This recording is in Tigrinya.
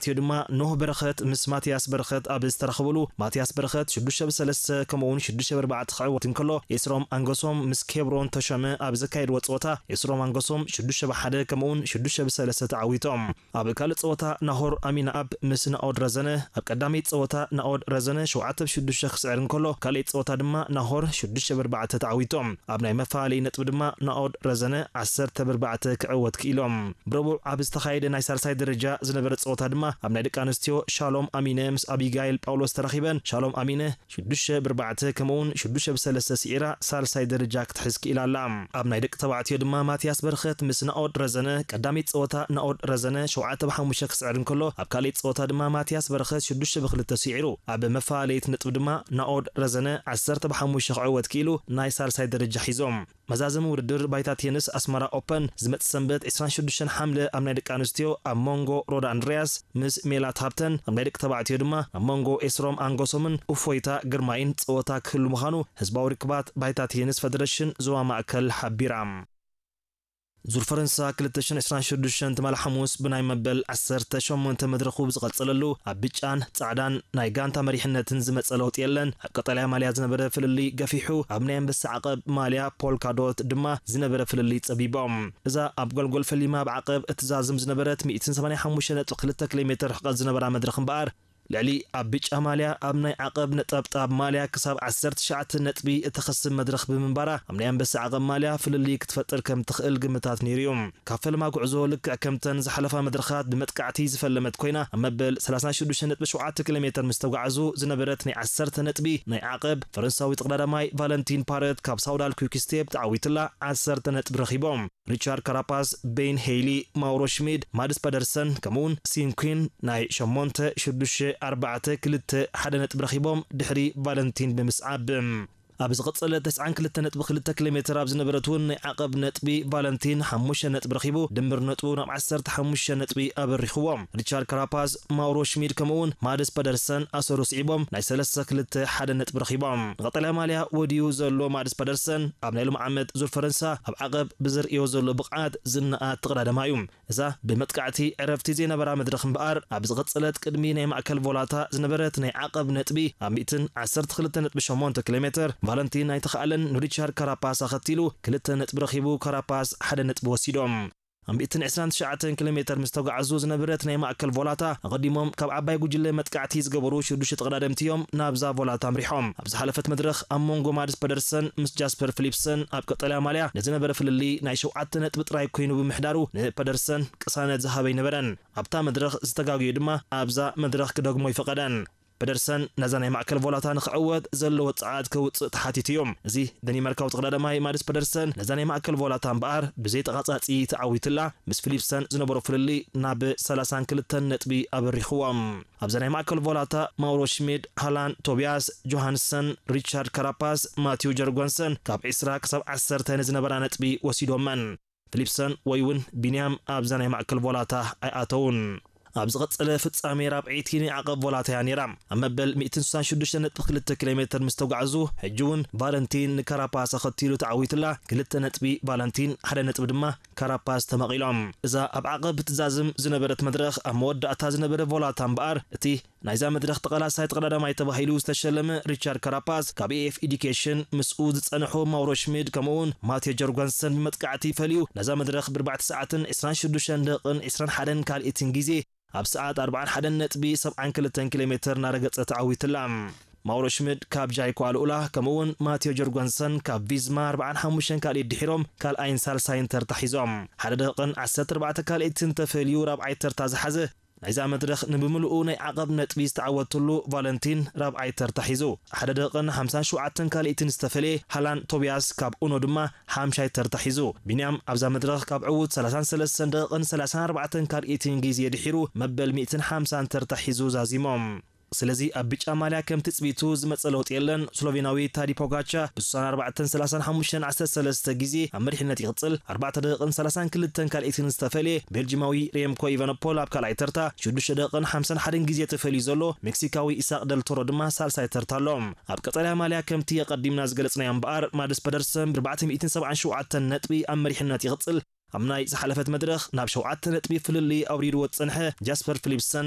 ትዮ ድማ ኖህ በረኸት ምስ ማትያስ በረኸት ኣብ ዝተራኸብሉ፣ ማትያስ በረኸት ሽዱሽተ ብሰለስተ ከምኡውን ሽዱሽተ ብኣርባዕተ ክዕወት እንከሎ፣ ኤስሮም ኣንገሶም ምስ ኬብሮን ተሾመ ኣብ ዘካየድዎ ጸወታ፣ ኤስሮም ኣንገሶም ሽዱሽተ ብሓደ ከምኡውን ሽዱሽተ ብሰለስተ ተዓዊቶም። ኣብ ካልእ ጸወታ ናሆር ኣሚናኣብ ምስ ናኦድ ረዘነ፣ ኣብ ቀዳመይቲ ጸወታ ናኦድ ረዘነ ሸውዓተ ብሽዱሽተ ክስዕር እንከሎ፣ ካልኣይቲ ጸወታ ድማ ናሆር ሽዱሽተ ብኣርባዕተ ተዓዊቶም። ኣብ ናይ መፈላለዪ ነጥቢ ድማ ናኦድ ረዘነ ዓሰርተ ብኣርባዕተ ክዕወት ክኢሎም። ብረቡዕ ኣብ ዝተኻየደ ናይ ሳልሳይ ደረጃ ዝነበረ ጸወታ ድማ ኣብ ናይ ደቂ ኣንስትዮ ሻሎም ኣሚነ ምስ ኣቢጋይል ጳውሎስ ተራኺበን። ሻሎም ኣሚነ ሽዱሽተ ብኣርባዕተ ከምኡውን ሽዱሽተ ብሰለስተ ስዒራ ሳልሳይ ደረጃ ክትሕዝ ክኢላ ኣላ። ኣብ ናይ ደቂ ተባዕትዮ ድማ ማትያስ በረኸት ምስ ናኦድ ረዘነ፣ ቀዳመይቲ ጸወታ ናኦድ ረዘነ ሸውዓተ ብሓሙሽተ ክስዕር እንከሎ፣ ኣብ ካልኣይቲ ጸወታ ድማ ማትያስ በረኸት ሽዱሽተ ብክልተ ስዒሩ። ኣብ መፈላለዪት ነጥቢ ድማ ናኦድ ረዘነ ዓሰርተ ብሓሙሽተ ክዕወት ክኢሉ ናይ ሳልሳይ ደረጃ ሒዞም። መዛዘሚ ውድድር ባይታ ቴንስ ኣስመራ ኦፐን ዝመጽእ ሰንበት ዕስራን ሽዱሽተን ሓምለ ኣብ ናይ ደቂ ኣንስትዮ ኣብ መንጎ ሮዳ ኣንድርያስ ምስ ሜላት ሃብተን፣ ኣብ ናይ ደቂ ተባዕትዮ ድማ ኣብ መንጎ ኤስሮም ኣንጎሶምን እፎይታ ግርማይን ጸወታ ክህሉ ምዃኑ ህዝባዊ ርክባት ባይታ ቴንስ ፈደረሽን ዞባ ማእከል ሓቢራ። ዙር ፈረንሳ ክልተ ሽሕን ዕስራን ሽዱሽተን ትማሊ ሓሙስ ብናይ መበል ዓሰርተ ሸሞንተ መድረኹ ብዝቐጸለሉ፣ ኣብ ብጫን ጻዕዳን ናይ ጋንታ መሪሕነትን ዝመጸ ለውጢ የለን። ኣብ ቀጠልያ ማልያ ዝነበረ ፍልልይ ገፊሑ፣ ኣብ ናይ ኣንበሳ ዓቐብ ማልያ ፖልካ ዶት ድማ ዝነበረ ፍልልይ ጸቢቦም። እዛ ኣብ ጎልጎል ፈሊማ ኣብ ዓቐብ እትዛዝም ዝነበረት ሚእትን ሰማንያን ሓሙሽተ ነጥቢ ክልተ ኪሎ ሜተር ርሕቀት ዝነበራ መድረኽ እምበኣር፣ ልዕሊ ኣብ ብጫ ማልያ ኣብ ናይ ዓቐብ ነጠብጣብ ማልያ ክሳብ ዓሰርተ ትሽዓተ ነጥቢ እተኸስብ መድረኽ ብምንባራ፣ ኣብ ናይ ኣንበሳ ዓቐብ ማልያ ፍልልይ ክትፈጥር ከም ትኽእል ግምታት ነይሩ እዩ። ካብ ፈለማ ጉዕዞ ልክዕ ከምተን ዝሓለፋ መድረኻት ብመጥቃዕቲ ዝፈለመት ኮይና፣ ኣብ መበል ሰላሳ ሽዱሽተ ነጥቢ ሸውዓተ ኪሎ ሜተር ምስ ተጓዕዙ ዝነበረት ናይ ዓሰርተ ነጥቢ ናይ ዓቐብ፣ ፈረንሳዊ ተቐዳዳማይ ቫለንቲን ፓረት ካብ ሳውዳል ኩክ ስቴፕ ተዓዊትላ ዓሰርተ ነጥቢ ረኺቦም። ሪቻርድ ካራፓስ፣ ቤን ሄይሊ፣ ማውሮ ሽሚድ፣ ማድስ ፐደርሰን ከምኡውን ሲንኩን ናይ ሸሞንተ ሽዱሽተ ኣርባዕተ ክልተ ሓደ ነጥቢ ረኺቦም ድሕሪ ቫለንቲን ብምስዓብ። ኣብ ዝቐጸለ ተስዓን ክልተ ነጥቢ ክልተ ኪሎ ሜተር ኣብ ዝነበረት እውን ናይ ዓቐብ ነጥቢ ቫለንቲን ሓሙሽተ ነጥቢ ረኺቡ፣ ድምር ነጥቡ ናብ ዓሰርተ ሓሙሽተ ነጥቢ ኣበሪኽዎ። ሪቻርድ ካራፓዝ፣ ማውሮ ሽሚድ ከምኡውን ማድስ ፐደርሰን ኣሰሩ ስዒቦም ናይ ሰለስተ ክልተ ሓደ ነጥቢ ረኺቦም። ንቐጠልያ ማልያ ወዲዩ ዘሎ ማድስ ፐደርሰን ኣብ ናይ ሎም ዓመት ዙር ፈረንሳ ኣብ ዓቐብ ብዘርእዮ ዘሎ ብቕዓት ዝነኣድ ተቐዳዳማይ እዩ። እዛ ብመጥቃዕቲ ዕረፍቲ ዘይነበራ መድረኽ እምበኣር፣ ኣብ ዝቐጸለት ቅድሚ ናይ ማእከል ቮላታ ዝነበረት ናይ ዓቐብ ነጥቢ ኣብ ሚእትን ዓሰርተ ክልተ ነጥቢ ሸሞንተ ኪሎ ሜተር ቫለንቲን ኣይተኻእለን። ንሪቻርድ ካራፓስ ኣኸቲሉ ክልተ ነጥቢ ረኺቡ፣ ካራፓስ ሓደ ነጥቢ ወሲዶም። ኣብ ሚእትን ዕስራን ትሽዓተን ኪሎ ሜተር ምስ ተጓዕዙ ዝነበረት ናይ ማእከል ቮላታ፣ ኣቐዲሞም ካብ ዓባይ ጉጅለ መጥቃዕቲ ዝገበሩ ሽዱሽተ ተቐዳደምቲ እዮም ናብዛ ቮላታ ኣምሪሖም። ኣብ ዝሓለፈት መድረኽ ኣብ መንጎ ማድስ ፐደርሰን ምስ ጃስፐር ፊሊፕሰን ኣብ ቀጠልያ ማልያ ንዝነበረ ፍልልይ ናይ ሸውዓተ ነጥቢ ጥራይ ኮይኑ ብምሕዳሩ፣ ንፐደርሰን ቅሳነት ዝሃበ ኣይነበረን። ኣብታ መድረኽ ዝተጋግዩ ድማ ኣብዛ መድረኽ ክደግሞ ኣይፈቐደን። ፐደርሰን ነዛ ናይ ማእከል ቮላታ ንኽዕወት ዘለዎ ጸዓት ከውጽእ ተሓቲቱ እዩ። እዚ ደኒማርካዊ ተቐዳዳማይ ማድስ ፐደርሰን ነዛ ናይ ማእከል ቮላታ እምበኣር ብዘይ ተቓጻጺ ተዓዊትላ፣ ምስ ፊሊፕሰን ዝነበሮ ፍልልይ ናብ ሰላሳን ክልተን ነጥቢ ኣበሪኽዎ። ኣብዛ ናይ ማእከል ቮላታ ማውሮ ሽሚድ፣ ሃላን ቶቢያስ፣ ጆሃንሰን፣ ሪቻርድ ካራፓስ፣ ማቲው ጀርጎንሰን ካብ ዕስራ ክሳብ ዓሰርተ ንዝነበራ ነጥቢ ወሲዶመን። ፊሊፕሰን ወይ እውን ቢንያም ኣብዛ ናይ ማእከል ቮላታ ኣይኣተውን። ኣብ ዝቐጸለ ፍጻሜ ራብዐይቲ ናይ ዓቐብ ቮላታ እያ ነይራ። ኣብ መበል ሚእትን ስሳን ሽዱሽተ ነጥቢ ክልተ ኪሎ ሜተር ምስ ተጓዕዙ፣ ሕጂ እውን ቫለንቲን ንካራፓስ ኣኸቲሉ ተዓዊትላ፣ ክልተ ነጥቢ ቫለንቲን፣ ሓደ ነጥቢ ድማ ካራፓስ ተመቒሎም። እዛ ኣብ ዓቐብ ትዛዝም ዝነበረት መድረኽ ኣብ መወዳእታ ዝነበረ ቮላታ እምበኣር፣ እቲ ናይዛ መድረኽ ተቓላሳይ ተቐዳዳማይ ተባሂሉ ዝተሸለመ ሪቻርድ ካራፓስ ካብ ኤኤፍ ኤዱኬሽን ምስኡ ዝጸንሑ ማውሮ ሽሚድ ከምኡውን ማቴዮ ጀርጓንሰን ብመጥቃዕቲ ፈልዩ ነዛ መድረኽ ብኣርባዕተ ሰዓትን ዕስራን ሽዱሽተን ደቂቕን ዕስራን ሓደን ካልኢትን ግዜ ኣብ ሰዓት ኣርባዓን ሓደን ነጥቢ ሰብዓን ክልተን ኪሎ ሜተር እናረገጸ ተዓዊትላ። ማውሮ ሽሚድ ካብ ጃይኮ ኣልኡላ ከምኡውን ማቴዮ ጀርጓንሰን ካብ ቪዝማ ኣርባዓን ሓሙሽተን ካልኢት ድሒሮም ካልኣይን ሳልሳይን ተርታ ሒዞም። ሓደ ደቂቕን ዓሰርተ ኣርባዕተ ካልኢትን ተፈልዩ ራብዓይ ተርታ ዝሓዘ ናይዛ መድረኽ ንብምልኡ ናይ ዓቐብ ነጥቢ ዝተዓወተሉ ቫለንቲን ራብዓይ ተርታ ሒዙ፣ ሓደ ደቂቕን ሓምሳን ሸውዓተን ካልኢትን ዝተፈልየ ሃላን ቶቢያስ ካብ ኡኖ ድማ ሓምሻይ ተርታ ሒዙ። ቢንያም ኣብዛ መድረኽ ካብ ዕዉት ሰላሳን ሰለስተን ደቂቕን ሰላሳን ኣርባዕተን ካልኢትን ግዜ ድሒሩ መበል ሚእትን ሓምሳን ተርታ ሒዙ ዛዚሞም። ስለዚ ኣብ ብጫ ማልያ ከም ትጽቢቱ ዝመጸ ለውጢ የለን። ስሎቬናዊ ታዲ ፖጋቻ ብ ስሳን ኣርባዕተን ሰላሳን ሓሙሽተን ዓሰርተ ሰለስተ ግዜ ኣብ መሪሕነት ይቕጽል። ኣርባዕተ ደቂቕን ሰላሳን ክልተን ካልኢትን ዝተፈልየ ቤልጂማዊ ሬምኮ ኢቫኖፖል ኣብ ካልኣይ ተርታ፣ ሽዱሽተ ደቂቕን ሓምሳን ሓደን ግዜ ተፈልዩ ዘሎ ሜክሲካዊ ኢሳቅ ደልቶሮ ድማ ሳልሳይ ተርታ ኣሎ። ኣብ ቀጠልያ ማልያ ከምቲ ኣቐዲምና ዝገለጽናዮ እምበኣር፣ ማድስ ፐደርሰን ብ ኣርባዕተ ሚእትን ሰብዓን ሸውዓተን ነጥቢ ኣብ መሪሕነት ይቕጽል። ኣብ ናይ ዝሓለፈት መድረኽ ናብ ሸውዓተ ነጥቢ ፍልልይ ኣውሪድዎ ዝጸንሐ ጃስፐር ፊሊፕሰን